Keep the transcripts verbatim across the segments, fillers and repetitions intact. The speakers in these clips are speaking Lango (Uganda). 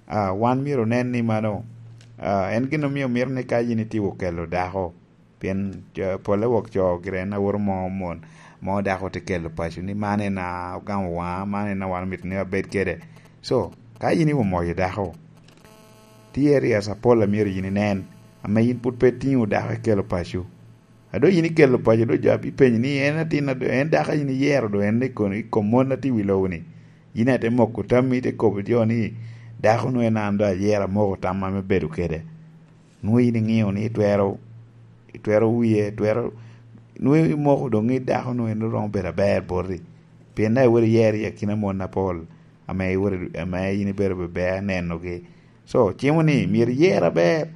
Ah, wan myero onen ni mano, ah, en gin omio mito ni ka yin itye okelo dako, pien, ah, pole wok co gire en aworo mo mon, mo dako te kelo paco ni man en a ogamo waŋa, man en a wan omito ni abed kede. So, ka yin iwomoyo dako, tye areas apol a myero yin inen, ame yin pwod pe itiŋo dako ikelo paco. A doŋ yin ikelo paco, doŋ jo abipenyo ni en atin a doŋ, en dako a yin iyero doŋ en i kom, i kom mon a tye i wi lobo-ni. Yin aye ite moko tammi, ite kobo jo ni, "Dako-nu en an doŋ ayero, amoko tamma me bedo kede." Nwoŋo yin iŋeo ni itwero, itwero wie, itwero, nwoŋo imoko doŋ ni dako-nu en romo bedo aber boti. Pien daŋ iwero iyero i akina mon apol, ame iwero, ame yin ibedo bebe anenogi. So, cimo ni myero iyer aber,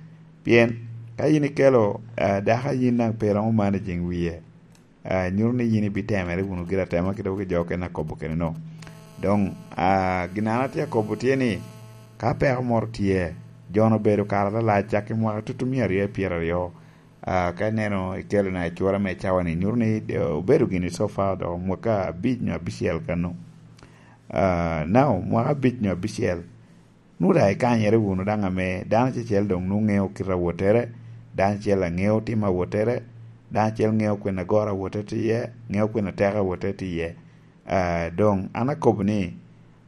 pien ka yin ikelo, ah, dako a yin daŋ pe romo managing wie, ah, nyuto ni yin ibitemere wunu gire atema kit dok jo okene akobo kene no. Doŋ, ah, gin an atye akobo tye ni, ka peko moro tye, jo-nu obedo kare alalac cak i mwaka tutumia aryo i pyeraryo, ah, ka ineno ikelo na i cura me cawa-ni, nyuto ni, eh, obedo gini so far dok mwaka abic nyo abicel kano. Ah, now, mwaka abic nyo abicel, nwoŋo daŋ ikanyere wunu daŋ ame dano acel doŋ nwoŋo ŋeo kite a wottere, dano acel aŋeo tim a wottere, dano acel ŋeo kwena agoro a wotte tye iye, ŋeo kwena ateko a wotte tye iye. Ah, doŋ an akobo ni,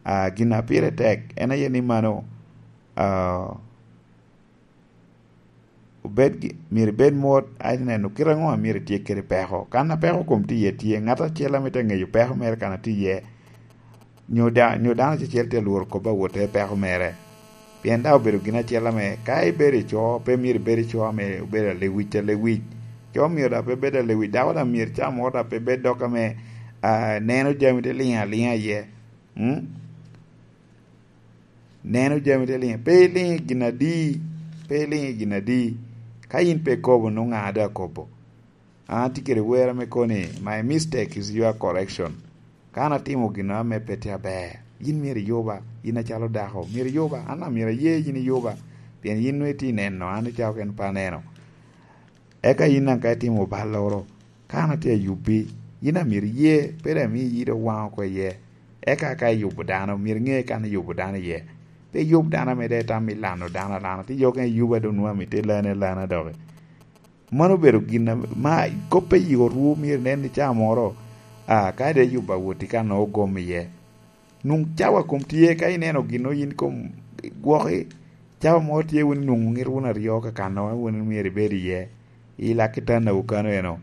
ah, gin a pire tek en aye ni mano, ah, obed gi, myero ibed mot, a ineno kite aŋo a myero itye kede peko. Kan a peko kom tye iye tye, ŋat acel a mito ŋeyo peko mere kan a tye iye, nyo da-, nyo dano acel tye alworo kop a wotte peko mere. Pien daŋ obedo gin acel ame ka ibedo i co, pe myero ibed i co ame obedo alewic, alewic. Co myero daŋ pe bed alewic, dako daŋ myero ca moro daŋ pe bed dok ame, ah, neno jami te liŋo aliŋa iye. Mm? Neno jami te liŋo, pe iliŋ i gin adi, pe iliŋ i gin adi. Ka yin pe ikobo, nwoŋo ŋa a doŋ akobo? An atye kede wer ame kono ni, "My mistake is your correction." Ka an atimo gin ame pe tye aber, yin myero iyuba, yin acalo dako, myero iyuba, an daŋ myero aye yin iyuba, pien yin nwoŋo itye neno, an icako ken pe aneno. Eka yin daŋ ka itimo balloro, ka an atye ayubbi, yin daŋ myero iye, pe daŋ imi iyito waŋ oko iye. Eka ka iyubo dano, myero iŋe kan iyubo dano iye. Pe iyub dano ame daŋ itam ilano dano alana, ti yoke iyuba doŋ nwoŋo amito ilane alana doki. Mano obedo gin ame, ma kop pe i otwu myero inen ni ca moro, a, ka daŋ iyubo awoti kan nwoŋo ogom iye. Nwoŋo cawa kom tye, ka ineno gin yin kom gwoki, cawa moro tye wun nwoŋo ŋit wun aryo kakano wun myero ibed iye, i lak kitanda wu kano eno.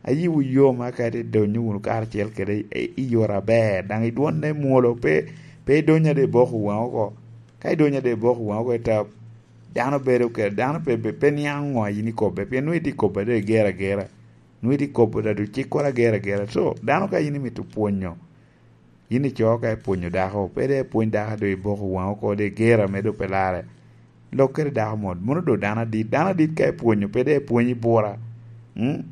Ayiwu yom aka te donyo wunu karacel kede i, i yore aber, daŋ i dwonne mwolo, pe, pe idony ade iboko waŋ oko. Ka idony ade iboko waŋ oko i tap, dano bedo kede, dano pe, pe, pe niaŋ ŋo a yin ikobbe, pien nwoŋo itye kobbe ade igero agera. Nwoŋo itye kobo da doŋ cikkoro agero agera. So, dano ka yin imito pwonyo, yin ico ka ipwonyo dako, pe dok ipwony dako a doŋ iboko waŋ oko, doŋ igero ame doŋ pe larre. Lok kede dako mot, mono doŋ dano adit. Dano adit ka ipwonyo, pe dok ipwony i bura. Mm?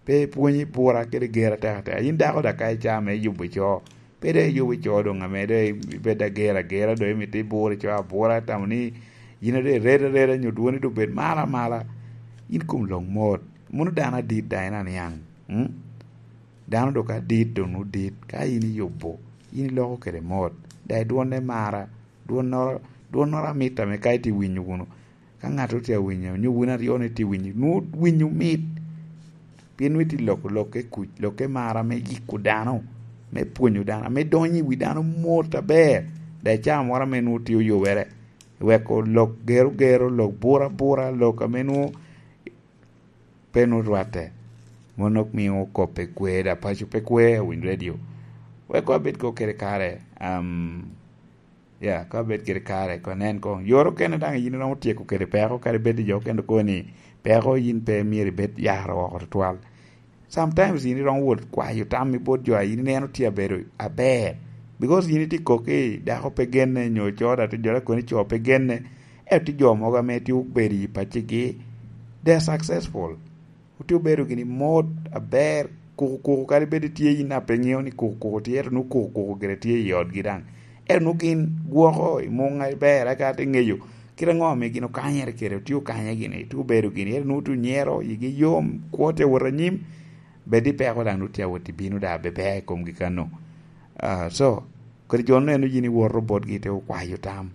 Pe ipwony i bura kede gero atek atek. Yin dako da ka ica ame iyubo ico, pe dok iyubo ico doŋ ame doŋ ibed agero agera, doŋ imito iburo ico abura, itamo ni yin a doŋ iredo areda nyo dwoni doŋ bed malo amala. Yin kom lok mot. Mono dano adit daŋ en aniaŋ. Mm? Dano doŋ ka dit, doŋ nwoŋo dit. Ka yin iyubo, yin iloko kede mot. Daŋ i dwonne mara, dwonnoro, dwonnoro amit ame ka itye winyo wunu. Ka ŋat otye awinyo, nyo wun aryo ni tye winyo, nwoŋo winyo mit. Pien nwoŋo itye loko lokke kuc, lokke mara me yiko dano, me pwonyo dano, ame donyo i wi dano mot aber. Daŋ i caa moro ame nwoŋo tye oyobere, weko lok gero gero, lok bura bura, lok ame nwoŋo pe nwoŋo rwatte. Mono mio kop pe kwe, da paco pe kwe, awinyo redio. Wek koŋ abed koŋ kede kare, am, ya, ka abed kede kare, koŋ anen koŋ. Yore okene daŋ yin iromo tyeko kede peko, kadi bed i jo okene koŋ ni peko yin pe myero ibed yaro oko tutwal. Sometimes yin iromo wot kwayo tammi bot jo a yin ineno tye abedo aber. Because yin itye kok ni dako pe genne, nyo co da tye jo da kono ni co pe genne. Ento tye jo mogo ame tye obedo i paccigi, they are successful. Otye obedo gini mot aber, kuku kuku, kadi bed itye yin a pe ŋeo ni kuku kuku tye, ento nwoŋo kuku kuku gire tye i otgi daŋ. Ento nwoŋo gin gwoko i muŋ aber, eka te ŋeyo kite aŋo ame gin okanyere kede, otye okanye gini, tye obedo gini, ento nwoŋo tye onyero, yigi yom, kwo tye awot anyim, bed i peko daŋ nwoŋo tye awot i bino daŋ, abe ber i komgi kano. Ah, so, kodi jo neno yin iwoto botgi te okwayo tam.